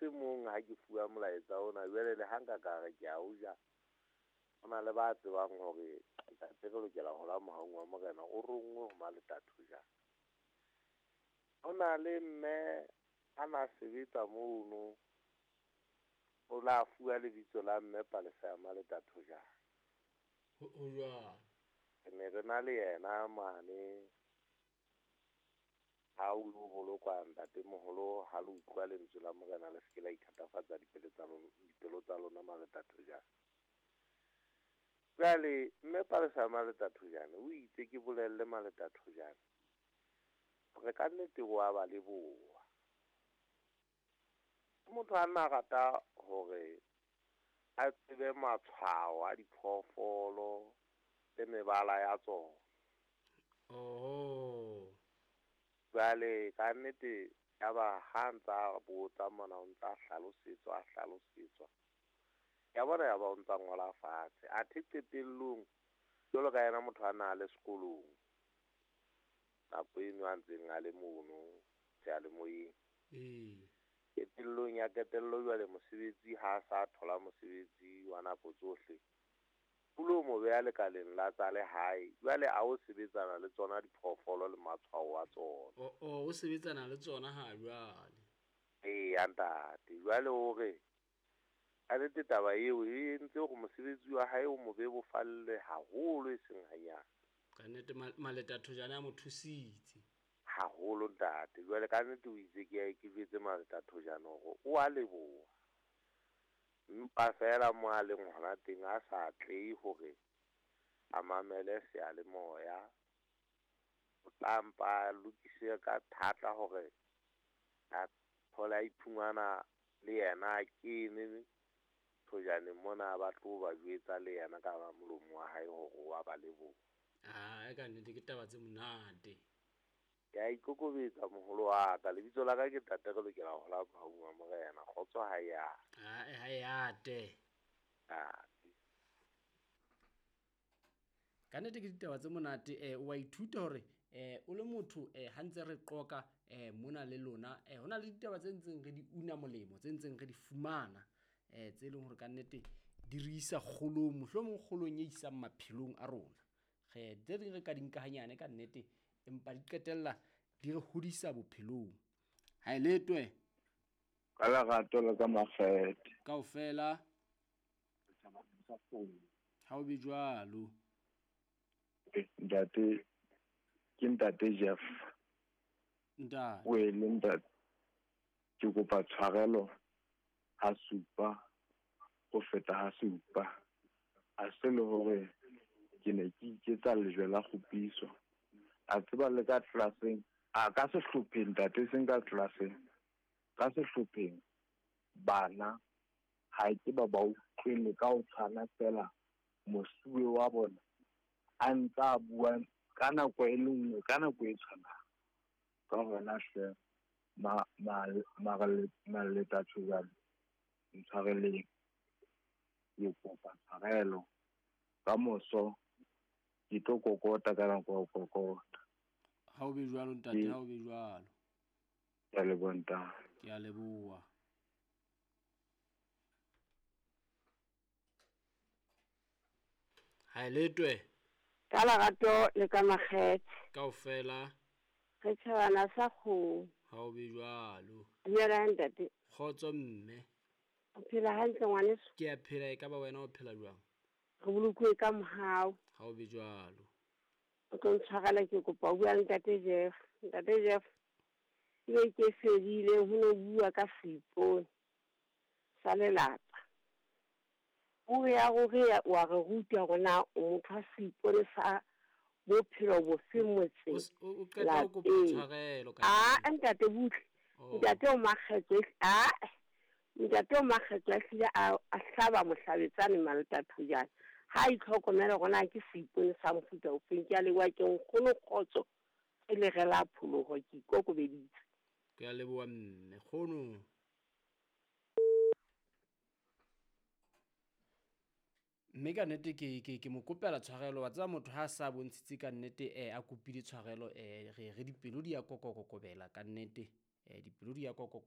se mong ha ke fuwa molaetsa ona, jwale le ha nka ka re ke a o ja, ho na le ba tsebang hore ntate re lokela ho la mohaung wa morena o ronngwe ho Maleta Thojane. Ho na le mme a na sebetsa mono, o la fuwa lebitso la mme Palesa ya Maleta Thojane. Ho jwalo. Re ne re na le yena mane ha o lo bolokwa ntatemoholo, ha le utlwa lentswe la morena le se ke la ithatafatsa dipelo tsa lona Maleta Thojane. Jwale mme Palesa ya Maleta Thojane o itse ke bolelle Maleta Thojane hore ka nnete wa ba leboha. Motho a nna rata hore a tsebe matshwao a diphoofolo le mebala ya tsona. Oho. Jwale ka nnete ya ba ha ntsa botsa mona o ntsa hlalosetswa, a hlalosetswa. Ya bona ya ba o ntsa ngola fatshe. Athe qetellong jwalo ka yena motho a na le sekolong, nako eno a ntseng a le mono seyalemoyeng. Qetellong ya qetello jwale mosebetsi ha sa thola mosebetsi wa nako tsohle, o lo mo beha lekaleng la tsa lehae. Jwale a o sebetsana le tsona diphoofolo le matshwao a tsona. O sebetsana le tsona ha jwale. Eya ntate, jwale o re ka nnete taba eo e entse hore mosebetsi wa hae o mo bebofalle haholo e seng hanyane. Ka nnete Maleta Thojane a mo thusitse. Haholo ntate. Jwale ka nnete o itse ke ke jwetse Maleta Thojane hore o a leboha. Empa feela mo a leng hona teng a sa atlehe hore a mamele seyalemoya. O tla mpa a lokise ka thata hore a thole a iphumana le yena a kene Thojaneng mona, ba tlo ba jwetsa le yena ka molomo wa hae hore wa ba leboha. Ah, ka nnete ke taba tse monate. Ke a ikokobetsa moholo wa ka. Lebitso la ka ke ntate re lokela ho la mohaung wa morena. Kgotso ha e ate. Ha e ate. Ate. Ka nnete ke ditaba tse monate. O wa ithuta hore o le motho ha ntse re qoka mona le lona, ho na le ditaba tse ntseng re di una molemo, tse ntseng re di fumana, tse leng hore ka nnete di re isa kgolong, mohlomong kgolong e isang maphelong a rona. Re tse ding re ka di nka hanyane ka nnete, empa di qetella di re hodisa bophelong. Ha e letwe. Ka lerato le ka makgethe. Kaofela. Ha o be jwalo. Ntate, ke ntate Jeff. Ntate. O e le ntate. Ke kopa tshwarelo ha supa, ho feta ha supa. A se le hore ke ne ke iketsa lejwe la kgopiso. A tseba le ka tlelaseng, a ka sehlopheng ntate, seng ka tlelaseng. Ka sehlopheng bana ha ke ba ba utlwele ka ho tshwana fela mosuwe wa bona a ntsa bua ka nako e le nngwe, ka nako e tshwanang. Ka hona hle, Maleta Thojane, ntshwareleng. Ke kopa tshwarelo. Ka moso ke tlo kokota ka nako ya ho kokota. Ha o be jwalo ntate, ha o be jwalo. Ke a leboha ntate. Ke a leboha. Ha e letwe. Ka lerato le ka makgethe. Kaofela. Re tjhabana sa kgomo. Ha o be jwalo. Dumela ntate. Kgotso mme. O phela hantle ngwaneso? Ke a phela, e ka ba wena o phela jwang? Re bolokuwe ka mohau. Ha o be jwalo. O tlo ntshwarela, ke kopa o bua le ntate Jeff. Ntate Jeff, ke be ke fedile ho no bua ka seipone sa lelapa. Puo ya ruri wa re ruta hore na o motho wa seipone sa bophelo bofe motseng. O qeta ho kopa tshwarelo ka Ah, ntate butle. Ntate o makgethe, ah, ntate o makgethe a hlile a hlaba mohlabetsane Maleta Thojane. Ha itlhokomela hore na ke seipone sa mofuta ofeng. Ke a leboha, ke nkgono kgotso e le re la pholoho, ke ikokobeditse. Ke a leboha mme, kgono. Mme ka nnete ke mo kopela tshwarelo. Wa tseba motho ha sa bontshitse ka nnete, a kopile tshwarelo, re dipelo di ya kokokobela ka nnete. Dipelo di ya kokoko.